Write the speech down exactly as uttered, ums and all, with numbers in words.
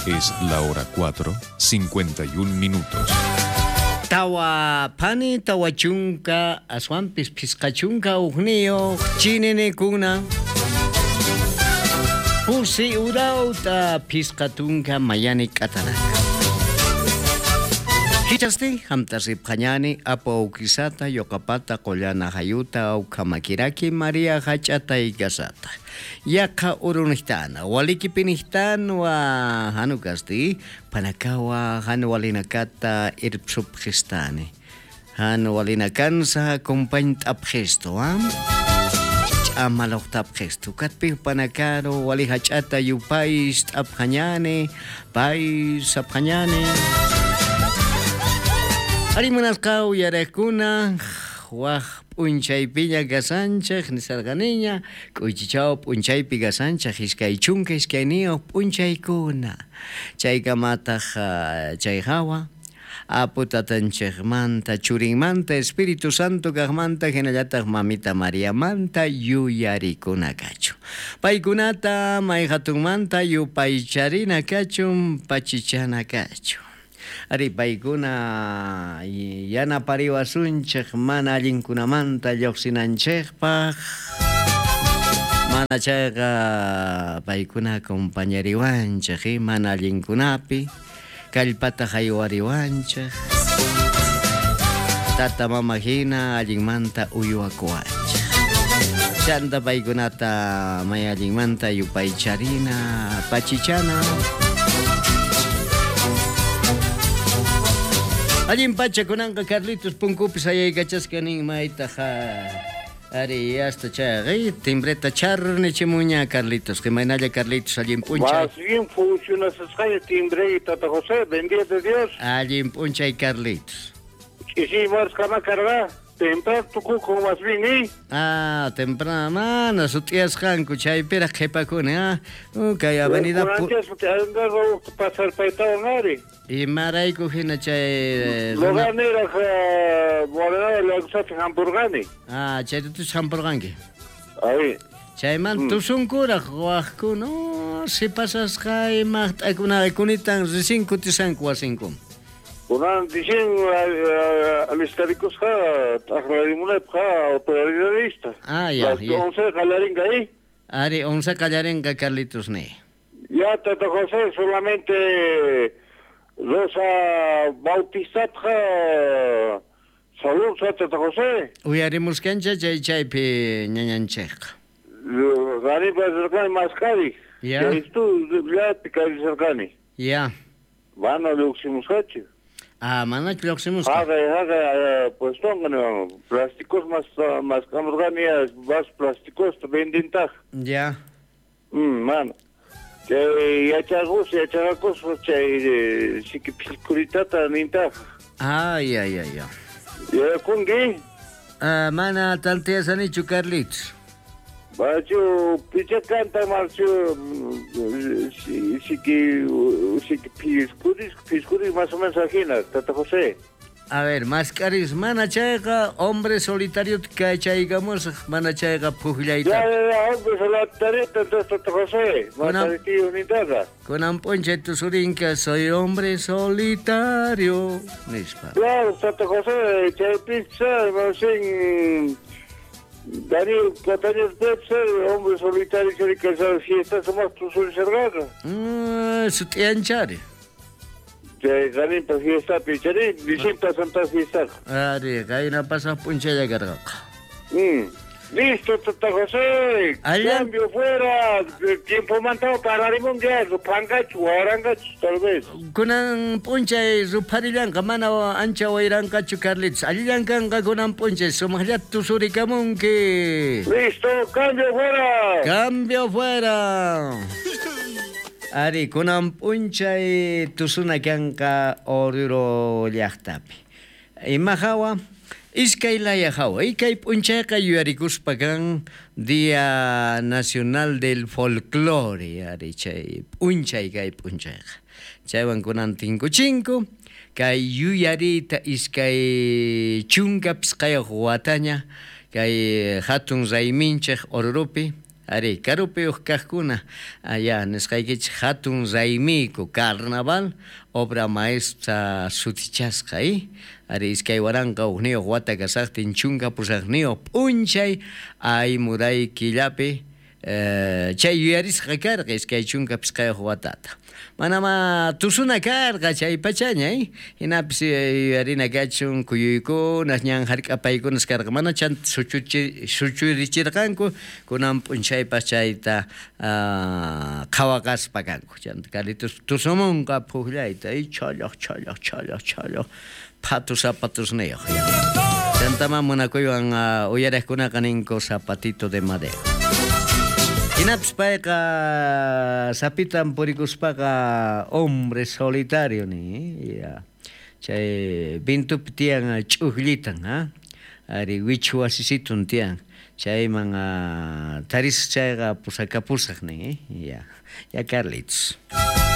Es la hora cuatro, cincuenta y un minutos. Tawa phani tawa chunka aswanpis phisqa chunka ujniyuq chininikuna pusi urawta phisqa tunka mayani k'atanaka. Hichasti hamta ripqañani apu awkisata yoqapata qollana hayuta awkamakiraki Maria hach'ata ikasata. Yaqa urunihtana walikipinihtanwa hanukasti panakawa hanuwalinakata irpsupqistani. Hanuwalinakansa compañt'apqistu ha? Ch'amalojtapqistu katpi panakaro wali hach'ata yupay t'apqañani pay sapqañani. Arimunasqa uyarakuna waj p'unchaypiña gasanchej nisarqaniña k'uychichaw p'unchaypi gasanchej iskay chunka iskayniyuq p'unchaykuna chaykamataq chay hawa apu tatanchejmanta churinmanta Espíritu Santo kaqmanta hinallataq mamita Mariamanta yuyarikuna kachun paykunata may hatunmanta yupaycharina kachun pachichana kachun. Ari paykuna yanapariwasunchej mana allinkunamanta lluqsinanchejpaq mana chayqa paykuna acompañariwanchej mana allinkunapi kallpata haywariwanchej tata mama hina allinmanta uywakuwanchej chanta paykunata may allinmanta yupaycharina pachichana. Allin pacha kunanqa Carlitos punkupis ayaykachasqa nin maytaq ari hasta chayqa timbreta charnichimuña Carlitos qimaynalla Carlitos allin p'unchay. Más bien funcionasqaña timbre tata José, bendito Dios. Allin p'unchay Carlitos. Ch'isi marsqama karqa temprano tukuko más bien eh. Ah, temprano mana sut'iyasqanku chaypiraq qhipakuni ah. Kay avenida pasar paytawan ari. Imarayku hina chay Lugarniraq Morena llaqtapi hampurqani. Ah, chaytatus hampurqanki. Ari. Chayman tusunkuraq waqkuna sipasasqa imaqt'akunaqa kunitan recién kutisanku wasinkuman. Kunan dicen alistarikusqa t'aqlarimunaypaq autoridadista. Ah, ya, ya. Once qallarinqa ahí. Ari, once qallarinqa Carlitos ni. Ya, Tata José, solamente Rosa Bautizatqa salud, Tata José. Uyarimuskancha chay chaypi ñañanchejqa. Gariba rirqani maskari. Ya. Chaystu llapi karisarqani. Ya. Mana lluqsimusqachu. Ah, manachu lluqsimusqa. Haqay, haqay, puestonqa plásticos mas maskamurqani vas plásticos vendintaq. Ya. Mm, mana. Chay yachaqus, yachaqakus chay siki piskuritata nintaq. Ah, ya, ya, ya. Yakunki? Ah, mana tantiyasanichu Carlitos. Bachu picha canta marchu siki siki piskuris piskuris más o menos ajina, Tata José. A ver, mascaris mana chayqa hombre solitario kachaykamusaq mana chayqa puqllayta. Ya, ya, ya, hombre solitario entonces Tata José, mascaris nintata. Kunan p'unchay tusurinka soy hombre solitario nispa. Claro, Tata José, chay pizza, sin Daniel Catania Pepsi, hombre solitario que esa fiesta somos tusurisarqaqa. Mm, sut'iyanchari. Chay Daniel fiesta pichari, distinta santa fiesta. Ari, kayna pasaq p'unchaylla karqaqa. Mm. Listo, Tata José. Cambio fuera. Tiempo mantado pararimun ya, rupangachu, warangachu, tal vez. Kunan p'unchay rupharillanqa mana ancha wayranqachu Carlitos. Allillankanqa kunan p'unchay sumaqllata tusurikamunki. Listo, cambio fuera. Cambio fuera. Ari, kunan p'unchay tusuna kanqa Oruro llaqtapi. Ima hawa? Iskay laya hawa, ikay p'unchayqa yuyarikuspa kan Día Nacional del Folclore, ari chay p'unchay kay p'unchayqa. Chaywan kunan tinkuchinku, kay yuyariyta iskay chunka pisqayuq wataña, kay hatun rayminchej Orurupi, Ari, karupi kajkuna, allá nisqaykichik hatun raymiyku carnaval obra maestra sutichasqa, eh? Ari, iskay waranqa hukniyuq wata kasaqtin chunka pusaqniyuq p'unchay aymuray killapi eh, chay yuyarisqa karqa iskay chunka pisqayuq watata. Manama tusuna karqa chay pachaña, eh? Hinapis yuyarina kachun kuyuykunas ñan hark'apaykunas karqa mana chanta suchuchi suchurichirqanku kunan p'unchaypas chayta uh, qhawaqaspa kanku. Chanta Carlitos tusumunqa puqllayta, eh? Challaq challaq challaq challaq phatu zapatusniyuq. Chantama munakuywan uh, uyariqkunaqa ninku zapatito de madera. Hinapis payqa sapitan purikuspaqa hombre solitario ni, ya. Chay vintupi tiyan ch'ujllitan, ha? Ari wichu wasisitun tiyan. Chayman uh, taris chayqa pusakapusaq ni, ya. Ya Carlitos.